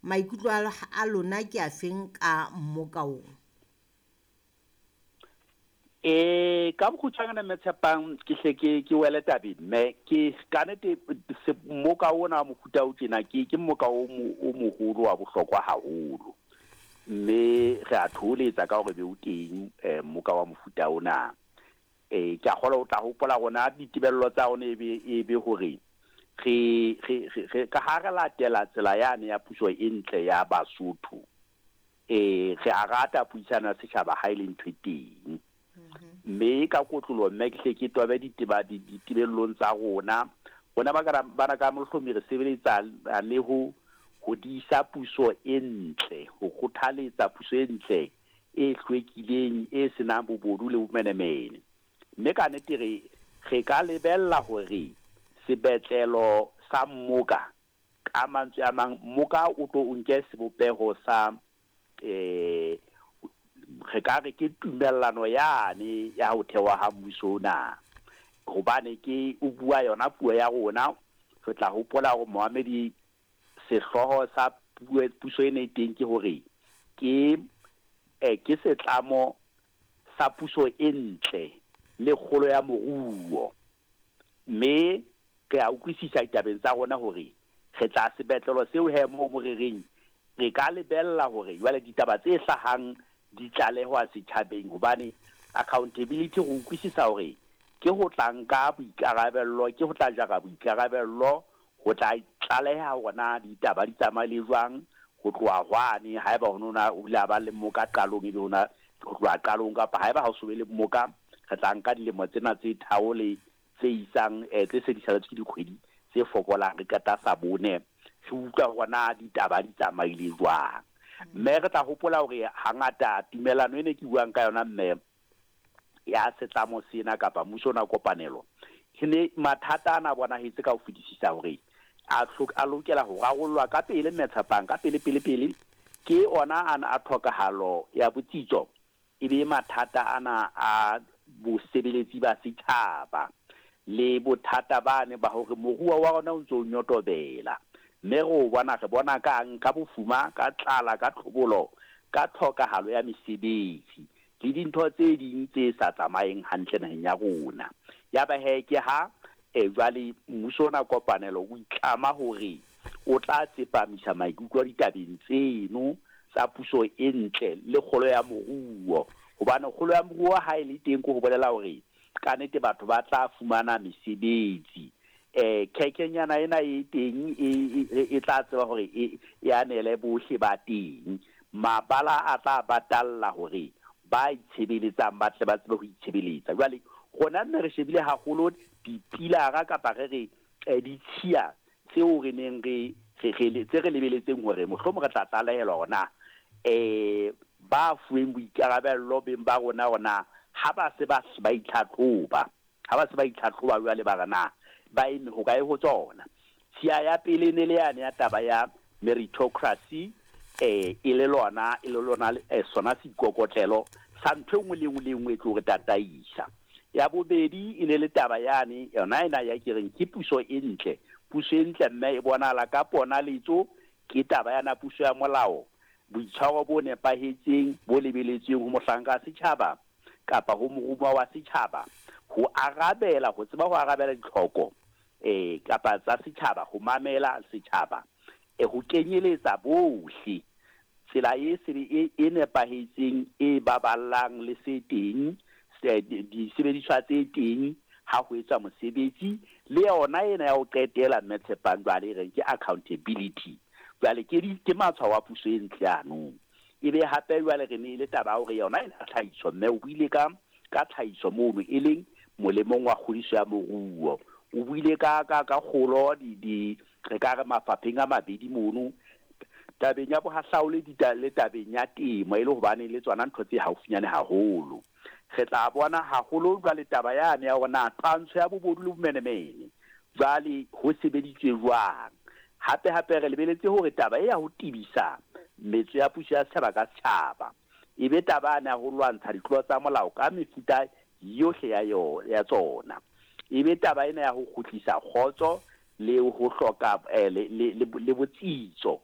Maikutlo a lona ke afeng ka mmoka o? E, ka bokgutshwanyane Mme Tshepang, ke hle ke ke wele tabeng mme ke ka nete mmoka ona wa mofuta o tjena ke ke mmoka o o moholo wa bohlokwa haholo. Mme re a thoholetsa ka hore be o teng eh, mmoka wa mofuta ona. Eh, ke a kgolwa o tla hopola rona ditebello tsa rona e be e be hore re re re ka ha re latela tsela yane ya puso e ntle ya Basotho. E, re a rata puisano ya setjhaba ha e le ntho e teng. Mme ka kotloloho mme ke hle ke tobe diteba ditebellong tsa rona. Rona ba ka bana ka Mohlomi re sebeletsa le ho hodisa puso e ntle, ho kgothaletsa puso e ntle e hlwekileng, e se nang bobodu le bomenemene. Mme ka nete re re ka lebella hore sebetlelo sa mmoka Ka mantswe a mang, mmoka o tlo o nke sebopeho sa, eh, re ka re ke tumellano yane ya ho thewa ha mmuso ona. Hobane ke o bua yona puo ya rona, re tla hopola hore momamedi sehlooho sa puo, puso ena e teng ke hore ke, eh, ke setlamo sa puso e ntle le kgolo ya moruo. Mme re a utlwisisa ditabeng tsa rona hore re tla sebetlelo seo he moo mo re reng re ka lebella hore jwale ditaba tse hlahang di tlalehwa setjhabeng hobane accountability re utlwisisa hore ke ho tla nka boikarabello, ke ho tla jara boikarabello, ho tla tlaleha hore na ditaba di tsamaile jwang ho tloha hwane, haeba ho no na ho ile ha ba le moka qalong ebe ho na ho tloha qalong kapa haeba ha ho so be le moka re tla nka dilemo tsena tse tharo le tse isang eh, tse se di saletswe ke dikgwedi tse fokolang re qeta sa bone re utlwa hore na ditaba di tsamaile jwang. Mme re tla hopola hore hangata tumellano ene ke buang ka yona mme ya setlamo sena kapa mmuso ona kopanelo e ne mathata ana a bonahetse ka ho fetisisa hore a a lokela ho rarollwa ka pele mme Tshepang ka pele pele pele ke ona ana a tlhokahalo ya botsitso e be mathata ana a bosebeletsi ba setjhaba le bothata bane ba hore moruo wa rona o ntse o nyotobela. Mme re o bona, re bona kang? Ka bofuma, ka tlala, ka tlhobolo, ka tlhokahalo ya mesebetsi le dintho tse ding tse sa tsamayeng hantle naheng ya rona. Yaba he ke ha jwale mmuso ona kopanelo o itlama hore o tla tsepamisa maikutlo ditabeng tseno tsa puso e ntle le kgolo ya moruo. Hobane kgolo ya moruo ha e le teng ke ho bolela hore ka nete batho ba tla fumana mesebetsi. Khekenyana ena e teng e, e, e tla tseba hore e, e anele bohle ba teng. Mabala a tla batalla hore ba itshebeletsang ba tle ba tsebe ho itshebeletsa. Jwale rona nne re shebile haholo dipilara kapa re re ditshiya tseo re neng re, re, re, tse re lebeletseng hore mohlomong re tla tlalehelwa hore na ba fuweng boikarabello beng ba rona hore na ha ba se ba, ba itlhatlhoba, ha ba se ba itlhatlhoba jwale ba re na ba eme hokae ho tsona. Tshiya ya pele e ne le yane ya taba ya meritocracy, e le lona, e le lona, sona seikokotlelo sa ntho e nngwe le e nngwe le e nngwe e tlo re tataisa. Ya bobedi e ne le taba yane, yona ena ya ke reng ke puso e ntle. Puso e ntle mme e bonahala ka ponaletso, ke taba yana puso ya molao, boitshwaro bo nepahetseng bo lebeletsweng ho mohlanka wa setjhaba kapa ho morumuwa wa setjhaba, ho arabela, ho tseba ho arabela ditlhoko kapa tsa setjhaba, ho mamela setjhaba, ho kenyeletsa bohle. Tsela e sebe e, e nepahetseng e baballang le se teng, se, disebediswa tse teng ha ho etswa mosebetsi, le yona ena ya ho qetela Mme Tshepang jwale e reng ke accountability. Jwale ke di, ke matshwao a puso e ntle ano. E be hape jwale re ne e le taba ya hore yona ena tlhahiso, mme o buile ka ka tlhahiso mono e leng molemong wa kgodiso ya moruo. O buile ka, ka, ka kgolo di, di, re ka re mafapheng a mabedi mono, tabeng ya bohahlaole dita, le tabeng ya temo, e le hobane le tsona ntho tse haufinyane haholo. Re tla bona haholo jwale taba yane ya hore na twantsho ya bobodu le bomenemene jwale ho sebeditswe jwang. Hape hape re lebeletse hore taba e ya ho tebisa metso ya puso ya setjhaba ka setjhaba e be taba yane ya ho lwantsha ditlolo tsa molao ka mefuta yohle ya yo, ya tsona. E be taba ena ya ho kgutlisa kgotso le ho hloka eh, le, le, le, le botsitso.